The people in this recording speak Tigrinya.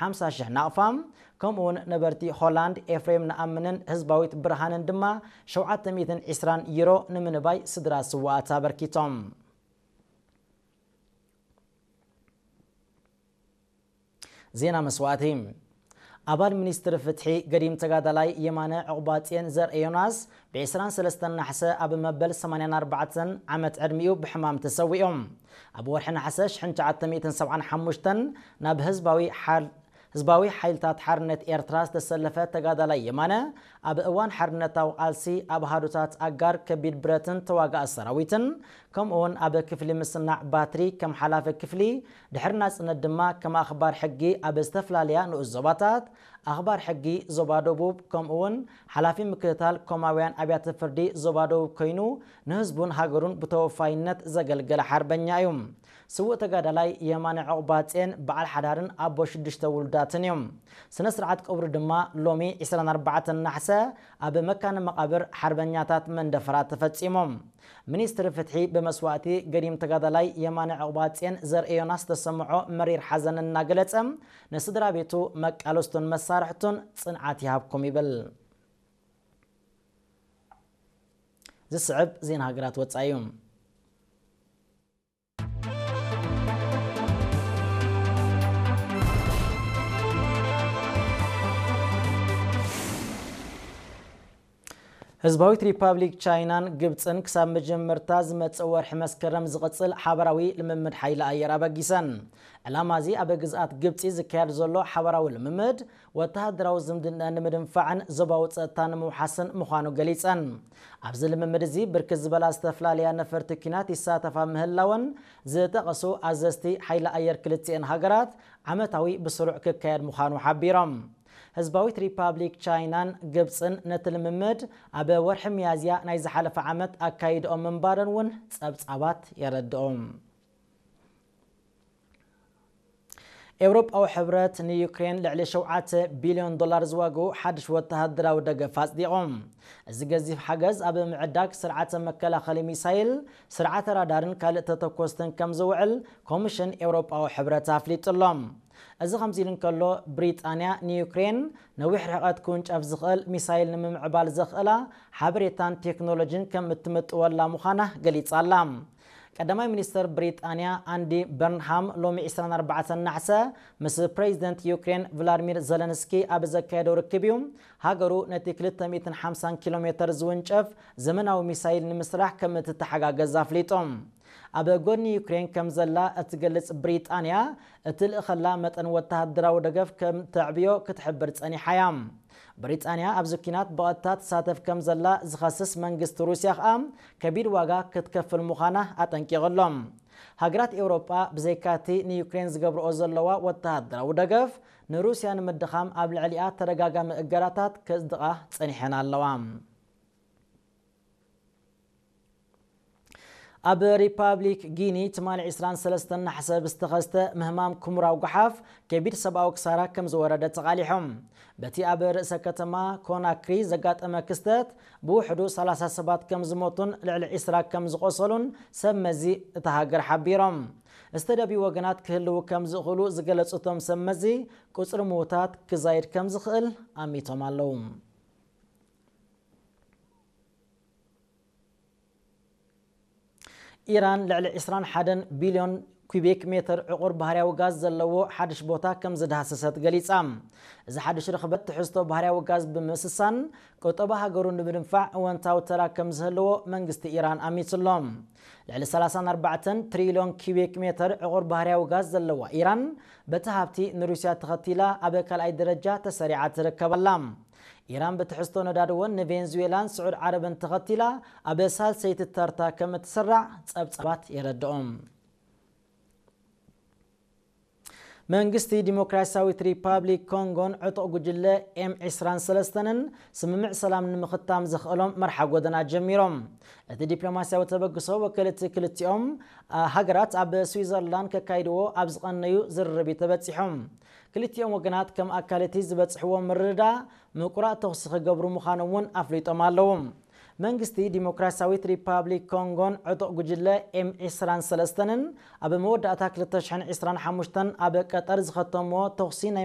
ሓምሳ ሽሕ ናቕፋ፣ ከምኡውን ነበርቲ ሆላንድ ኤፍሬም ነኣምንን ህዝባዊት ብርሃንን ድማ ሸውዓተ ሚእትን ዕስራን ዩሮ ንምንባይ ስድራ ስዋኣት ኣበርኪቶም። ዜና መስዋእቲ። ኣባል ሚኒስትሪ ፍትሒ ገዲም ተጋዳላይ የማነ ዕቑባጽዮን ዘርኤዮናስ ብ ዕስራን ሰለስተን ናሕሰ ኣብ መበል ሰማንያን ኣርባዕተን ዓመት ዕድሚኡ ብሕማም ተሰዊኡ። ኣብ ወርሒ ናሕሰ ሽሕን ትሽዓተ ሚእትን ሰብዓን ሓሙሽተን ናብ ህዝባዊ ሓል-፣ ህዝባዊ ሓይልታት ሓርነት ኤርትራ ዝተሰለፈ ተጋዳላይ የማነ፣ ኣብ እዋን ሓርነታዊ ቃልሲ ኣብ ኣሃዱታት ኣጋር ከቢድ ብረትን ተዋጋኢ ሰራዊትን፣ ከምኡውን ኣብ ክፍሊ ምስናዕ ባትሪ ከም ሓላፊ ክፍሊ፣ ድሕሪ ናጽነት ድማ ከም ኣኽባር ሕጊ ኣብ ዝተፈላለያ ንኡስ ዞባታት፣ ኣኽባር ሕጊ ዞባ ደቡብ፣ ከምኡውን ሓላፊ ምክትታል ኮማውያን ኣብያተ ፍርዲ ዞባ ደቡብ ኮይኑ፣ ንህዝቡን ሃገሩን ብተወፋይነት ዘገልገለ ሓርበኛ እዩ። ስዉእ ተጋዳላይ የማነ ዕቑባጽዮን በዓል ሓዳርን ኣቦ ሽዱሽተ ውሉዳትን እዩ። ስነ ስርዓት ቀብሩ ድማ ሎሚ ዕስራን ኣርባዕተን ናሕሰ ኣብ መካነ መቓብር ሓርበኛታት መንደፈራ ተፈጺሙ። ሚኒስትሪ ፍትሒ ብመስዋእቲ ገዲም ተጋዳላይ የማነ ዕቑባጽዮን ዘርኤዮናስ ዝተሰምዖ መሪር ሓዘን እናገለጸ፣ ንስድራ ቤቱ፣ መቃለስቱን መሳርሕቱን ጽንዓት ይሃብኩም ይብል። ዝስዕብ ዜና ሃገራት ወጻኢ እዩ። ህዝባዊት ሪፓብሊክ ቻይናን ግብጽን ክሳብ መጀመርታ ዝመጽእ ወርሒ መስከረም ዝቕጽል ሓበራዊ ልምምድ ሓይሊ ኣየር ኣበጊሰን። ዕላማ እዚ ኣብ ግዝኣት ግብጺ ዝካየድ ዘሎ ሓበራዊ ልምምድ ወተሃደራዊ ዝምድና ንምድንፋዕን ዞባዊ ጸጥታ ንምውሓስን ምዃኑ ገሊጸን። ኣብዚ ልምምድ እዚ ብርክት ዝበላ ዝተፈላለያ ነፈርቲ ኲናት ይሳተፋ ምህላወን ዝጠቐሱ ኣዘዝቲ ሓይሊ ኣየር ክልቲኤን ሃገራት ዓመታዊ ብስሩዕ ክካየድ ምዃኑ ሓቢሮም። ህዝባዊት ሪፓብሊክ ቻይናን ግብጽን ነቲ ልምምድ ኣብ ወርሒ ሚያዝያ ናይ ዝሓለፈ ዓመት ኣካይድኦም ምንባረን እውን ጸብጻባት የረድኦም። ኤውሮጳዊ ሕብረት ንዩክሬን ልዕሊ ሸውዓተ ቢልዮን ዶላር ዝዋግኡ ሓድሽ ወተሃደራዊ ደገፍ ኣጽዲቑ። እዚ ገዚፍ ሓገዝ ኣብ ምዕዳግ ስርዓተ መከላኸሊ ሚሳይል፣ ስርዓተ ራዳርን ካልእ ተተኮስትን ከም ዝውዕል ኮሚሽን ኤውሮጳዊ ሕብረት ኣፍሊጡ ኣሎ። እዚ ከምዚ ኢሉ እንከሎ፣ ብሪጣንያ ንዩክሬን ነዊሕ ርሕቀት ክውንጨፍ ዝኽእል ሚሳይል ንምምዕባል ዘኽእላ ሓበሬታን ቴክኖሎጂን ከም እትምጥወላ ምዃና ገሊጻ ኣላ። ቀዳማይ ሚኒስተር ብሪጣንያ ኣንዲ በርንሃም ሎሚ ዕስራን ኣርባዕተን ናሕሰ ምስ ፕሬዚደንት ዩክሬን ቭላድሚር ዘለንስኪ ኣብ ዘካየዶ ርክብ እዩ፣ ሃገሩ ነቲ ክልተ ሚእትን ሓምሳን ኪሎ ሜተር ዝውንጨፍ ዘመናዊ ሚሳይል ንምስራሕ ከም እትተሓጋገዝ ኣፍሊጡ። ኣብ ጎኒ ዩክሬን ከም ዘላ እትገልጽ ብሪጣንያ፣ እቲ ልእኸላ መጠን ወተሃደራዊ ደገፍ ከም ተዕብዮ ክትሕብር ጸኒሓ እያ። ብሪጣንያ ኣብዚ ኲናት ብቐጥታ ትሳተፍ ከም ዘላ ዝኸስስ መንግስቲ ሩስያ ከኣ፣ ከቢድ ዋጋ ክትከፍል ምዃና ኣጠንቂቑ ኣሎ። ሃገራት ኤውሮጳ ብዘይካቲ ንዩክሬን ዝገብርኦ ዘለዋ ወተሃደራዊ ደገፍ፣ ንሩስያ ንምድኻም ኣብ ልዕሊኣ ተደጋጋሚ እገዳታት ከጽድቓ ጸኒሐን ኣለዋ። ኣብ ሪፓብሊክ ጊኒ ትማሊ ዕስራን ሰለስተን ናሕሰ ብዝተኸስተ ምህማም ኩምራዊ ጓሓፍ ከቢድ ሰብኣዊ ክሳራ ከም ዝወረደ ተቓሊሖም። በቲ ኣብ ርእሰ ከተማ ኮናክሪ ዘጋጠመ ክስተት ብውሕዱ ሰላሳ ሰባት ከም ዝሞቱን ልዕሊ ዕስራ ከም ዝቖሰሉን ሰብ መዚ እታ ሃገር ሓቢሮም። ዝተደብዩ ወገናት ክህልዉ ከም ዝኽእሉ ዝገለጹ እቶም ሰብ መዚ፣ ቁጽሪ ምዉታት ክዛይድ ከም ዝኽእል ኣሚቶም ኣለዉ። ኢራን ልዕሊ ዕስራን ሓደን ቢልዮን ኪዩቢክ ሜተር ዕቑር ባህርያዊ ጋዝ ዘለዎ ሓድሽ ቦታ ከም ዝዳህሰሰት ገሊጻ። እዚ ሓድሽ ርኽበት ትሕዝቶ ባህርያዊ ጋዝ ብምስሳን ቁጠባ ሃገሩ ንምድንፋዕ እወንታዊ ተራ ከም ዝህልዎ መንግስቲ ኢራን ኣሚቱ ኣሎ። ልዕሊ ሰላሳን ኣርባዕተን ትሪልዮን ኪዩቢክ ሜተር ዕቑር ባህርያዊ ጋዝ ዘለዋ ኢራን በቲ ሃብቲ ንሩስያ ተኸቲላ ኣብ ካልኣይ ደረጃ ተሰሪዓ ትርከብ ኣላ። ኢራን ብትሕዝቶ ነዳዲ እውን ንቬንዙዌላን ስዑድ ዓረብን ተኸቲላ ኣብ ሳልሰይቲ ተርታ ከም እትስራዕ ጸብጻባት የረድኦም። መንግስቲ ዲሞክራሲያዊት ሪፓብሊክ ኮንጎን ዕጡቕ ጉጅለ ኤም ዕስራን ሰለስተንን ስምምዕ ሰላም ንምኽታም ዘኽእሎም መርሓ ጎደና ጀሚሮም። እቲ ዲፕሎማስያዊ ተበግሶ ወከልቲ ክልቲኦም፣ ኣ፣ ሃገራት ኣብ ስዊዘርላንድ ከካይድዎ ኣብ ዝቐነዩ ዝርርብ እዩ ተበጺሖም። ክልቲኦም ወገናት ከም ኣካል እቲ ዝበጽሕዎ ምርድዳእ ምቁራጽ ተኹሲ ክገብሩ ምዃኖም እውን ኣፍሊጦም ኣለዉ። መንግስቲ ዲሞክራሲያዊት ሪፓብሊክ ኮንጎን ዕጡቕ ጉጅለ ኤም ዕስራን ሰለስተንን ኣብ መወዳእታ ክልተ ሽሕን ዕስራን ሓሙሽተን ኣብ ቀጠር ዝኸተምዎ ተኹሲ ናይ